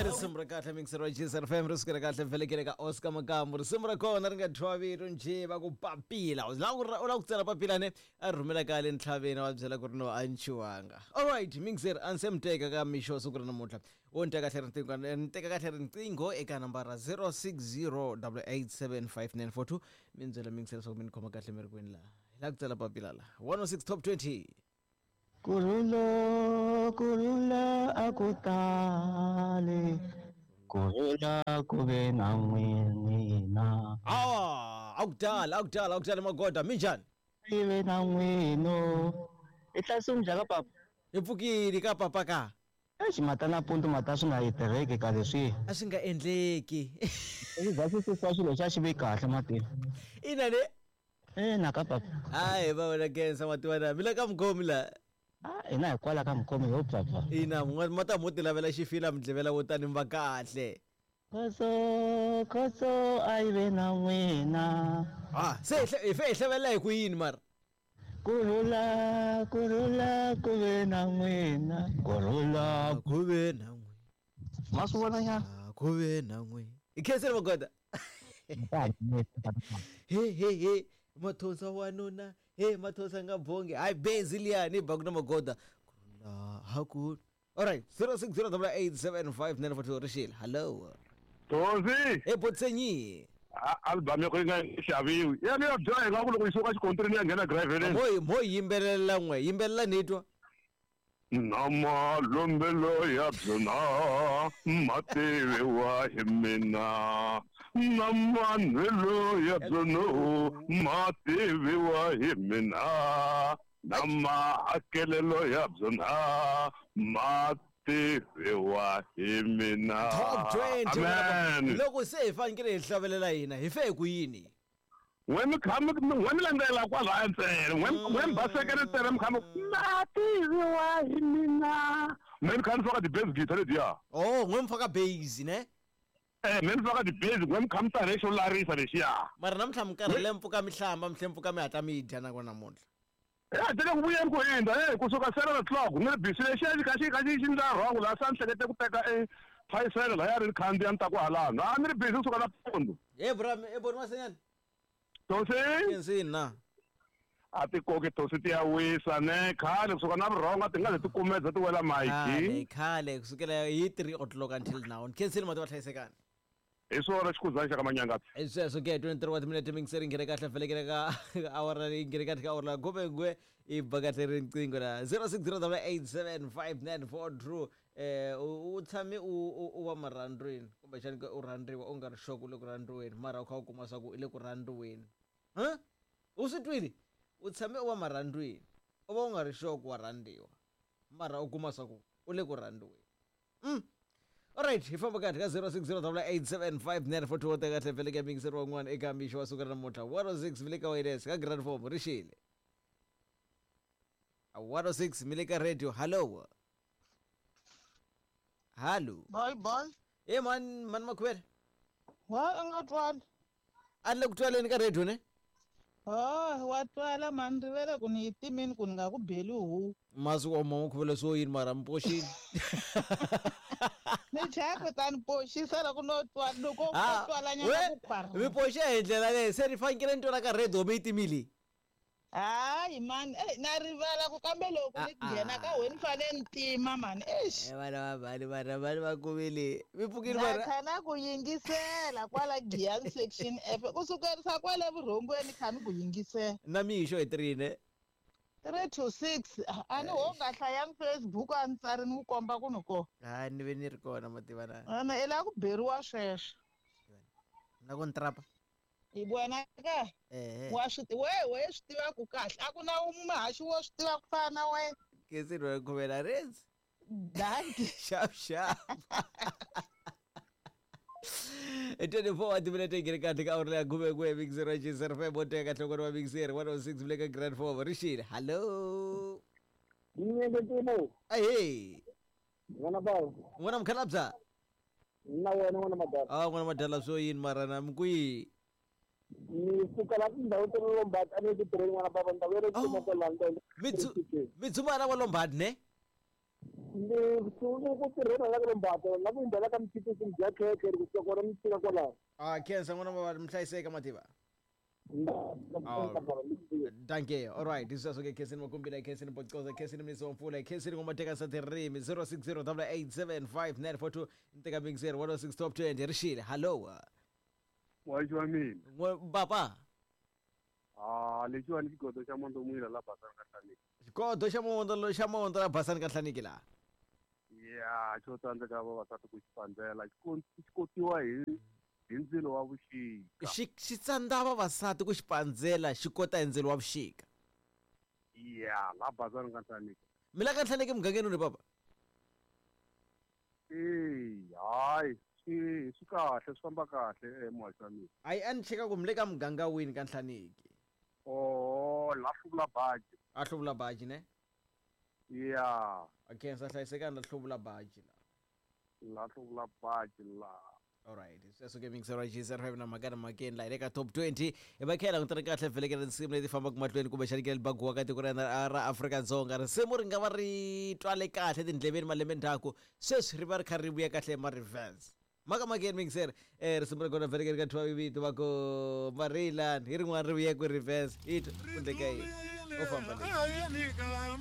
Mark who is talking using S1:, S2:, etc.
S1: I risimu ra kahle mixer wa Jesus FM ri sukela kahle vhelekele ka Oscar Makambu risimu ra kona ri nga thyiwa vito njhe va ku papila u lava ku u lava ku tsala papila ne a ri rhumela ka le ntlhaveni va byela ku ri no a nchiwanga alright mixer a ni se mi teka ka mixo wa siku ra namuntlha wo ni teka kahle riqingho ni teka kahle riqingho eka nambara 0608875942 mi ni byela mixer leswaku mi ni khoma kahle mi ri kwini laha hi lava ku tsala papila laha 106 top 20.
S2: Kurhula, kurhula a ku tali, kurhula ku ve na n'wina.
S1: Awa, a ku tali, a ku tali, a ku tali magoda, minjhani?
S2: Yi ve na n'wino. I hlayisiwe njhani ka papa?
S1: Hi pfukile ka papa ka.
S2: Eish mata nampundzu mata swi nga yi tirheki ka leswi.
S1: A swi nga endleki.
S2: Swi za swi susiwa xilo xa xi ve kahle matini.
S1: Ina ne?
S2: Ina ka papa.
S1: Hayi va wena Kensa wa tiva na mi le ka mukhomi la.
S2: Ah hina hi kwala ka mukhomi ho papa.
S1: Ina ma ta mo ti lavela xifila mi dlevela wo tani mi va kahle.
S2: Khoso khoso a yi ve na n'wina.
S1: Ah se hi fe hi hlavelela hi ku yini mara?
S2: Kurhula kurhula ku ve na n'wina. Kurhula
S1: ku ve na n'wina.
S2: Ma swi vona nyana?
S1: Ku ve na n'wina. I khensile magoda. He he he mathonsa wanuna he mathonsa nga bongi hayi benzi liya ni ba ku na magoda. Kurhula haku. Alright 0608875942 rixile. Hello.
S3: Thozi.
S1: Hey Botsenyi.
S3: Album ya ko yi nga xaviwi. Ya ni ya dya hi nga ku loko yi suka xikontrini ya nghena graveleni.
S1: Mo mo yimbelela n'we, yimbelela ni twa.
S3: Na malombelo ya byona ma tiviwa hi mina na manwelo ya byona ma tiviwa hi mina na mahakelelo ya byona ma tiviwa hi mina.
S1: Top 20.
S3: Amen.
S1: Loko se hi fanekele hi hlavelela hina hi fe hi ku yini?
S3: N'we mi kha mi n'we mi landzela kwalaya ntsena n'we n'we mi basekele ntsena mi kha mi ma tiviwa hi mina me ni kha ni faka ti-bass guitar letiya.
S1: Oh n'we mi faka bass ne?
S3: Eh me ni faka ti-bass n'we mi kha mi tane xo larisa lexiya.
S1: Mara namuntlha mi karhele mi pfuka mi hlamba mi tlhe mi pfuka mi hatla mi dya nakona namuntlha.
S3: Ya ti le ku vuyeni ku hundza hey kusuka 7 o'clock ni ri busy lexiya xi kha xi kha xi xi ndla wrong laha se a ni hlekete ku teka e phayisele laya ri ni khandziya ni ta ku halano a ni ri busy kusuka nampundzu.
S1: He bra he boni Masenyani.
S3: Tosi.
S1: Kensini na.
S3: A ti koki tosi ti ya wisa ne khale kusuka na vurhonga ti nga ze ti kumedza ti wela
S1: Khale
S3: mayiki.
S1: khale kusukela hi 3 o'clock until now. Khensini mati va hlayisekani.
S3: Hi swona xikhuzani xa ka Manyangatsi.
S1: Hi sweswo ke 23 wa timinete mingiseri nghene kahle vhelekele ka awara leyi nghene kahle ka awara la khume n'we i ba kahle riqingho la 0608875942 eh u tshame u u va marhandzwini kumbexani ke u rhandziwa u nga ri sure ku u le ku rhandziweni mara u kha u kuma swa ku u le ku rhandziweni huh u swi twile u tshame u va marhandzwini u va u nga ri sure ku wa rhandziwa mara u kuma swa ku u le ku rhandziweni. Alright, hi famba kahle ka 0608875942 teka kahle vhele ka mixer wan'wana eka mixo wa siku ra namuntlha 106 mi le ka wireless ka grand form ri xile 106 mi le ka radio hallo hallo.
S4: Boy boy.
S1: E man man makhuvele.
S4: Wa a nga twali.
S1: A ni le ku twaleni ka radio ne?
S4: Oh, wa twala mani rivele ku ni yi timini ku ni nga ku beli huku.
S1: Masi wa mama khuvele swo yini mara mi poxini.
S4: Ni chaya kutani poxisa loko no twa loko ko
S1: Ah,
S4: twala nyana
S1: we
S4: ku khwara.
S1: mi poxe hi ndlela leyi se ni fanekele ni twala ka radio mi yi timile.
S4: Hayi mani, ey na rivala ku kambe loko ni
S1: Ah, ah.
S4: nghena ka wena ni fanele ni tima mani, eish.
S1: Eh, vana va mhani vana mhani va kumile mi pfukile
S4: Na
S1: mara
S4: kha na ku yingisela kwala Giyani section F ku sukerisa kwale vurhongweni kha ni ku yingisela.
S1: Na mixo hi 3 ne?
S4: 3 to 6 a ni ho nga hlayangi Facebook a ni tsari ni ku komba ku ni kona.
S1: Ha ni ve ni ri kona mativa na.
S4: Ana i lava ku beriwa sweswo.
S1: Na ku ni trapa.
S4: Hi vona ka
S1: Ehe.
S4: wa swi we we swi tiva ku kahle a ku na muhaxi wo swi tiva ku fana na wena.
S1: Kesi rwa khuvela reds.
S4: Dankie.
S1: Sharp sharp. 24 wa timinete yi nghene kahle ka awara leya khume n'we mixer wa Jizz FM wo teka nhlokweni wa mixer 106 le ka grand form rixile hallo.
S5: Nyeketimo.
S1: Ahee.
S5: N'wana bava.
S1: N'wana mukhalabya.
S5: Na wena n'wana madala.
S1: Ah n'wana madala swo yini mara na mi kwihi?
S5: Ni suka la tindhawu ta le Lombard a ni le tirheni n'wana bava ndhawu ya le
S1: Oh.
S5: Tuma kwala ndlela.
S1: Mi dzuma la wa Lombard ne?
S5: Ni sungule ku tirhela la ka Lombato, la ku hundzela ka Mtshipisi bya khekhe ri kusuka kona mi fika kwalaho.
S1: A khensa n'wana wa mi hlayiseka mativa. Dankie. All right. This is okay. Khensini Makumbila, Khensini Bocoza, Khensini Mnisi wa Mpfula, Khensini Ngoma Satirimi 060 8875942 Nteka Mixer 106 Top 20 Rishile. Hello.
S3: Muhaxi wa mina.
S1: Papa.
S3: Ah, lexiwani xigodo xa Mondomwila la Basani ka Nhlaniki.
S1: Xigodo xa Mondo xa Mondo la Basani ka Nhlaniki la.
S3: Ya, xo tsandzeka vavasati ku xi pandzela xi kotiwa hi ndzilo wa vuxika.
S1: Xi tsandza vavasati ku xi pandzela xi kota hi ndzilo wa vuxika.
S3: Ya, la Basani ka Nhlaniki.
S1: Mi la ka Nhlaniki mugangeni uni papa?
S3: Eya, hayi, swi kahle, swi famba kahle muhaxi wa mina.
S1: Hayi, a ni cheka ku mi le ka muganga wini ka Nhlaniki.
S3: Oh, la hluvula baji.
S1: A hluvula baji ne?
S3: Ya.
S1: A khensa hlayisekani la hluvula baji la.
S3: La hluvula baji la.
S1: All right, sweswo ke mixer wa G05 na mhaka na mhakeni la hi le ka top 20 hi va khela langutana kahle vhelekela tinsimu leti fambaka mahlweni kumbexani ke baguwa ka tiko ra hina ra Afrika-Dzonga. Risimu ri nga va ri twale kahle tindleveni malembe ndzhaku, sweswi ri va ri kha ri vuya kahle ma reverse. Mhaka mhakeni mixer risimu ra kona vhelekela ka thwa vito va ku Marilani hi rin'wana ri vuya ku reverse hi twa ku endleka yini u famba leyi.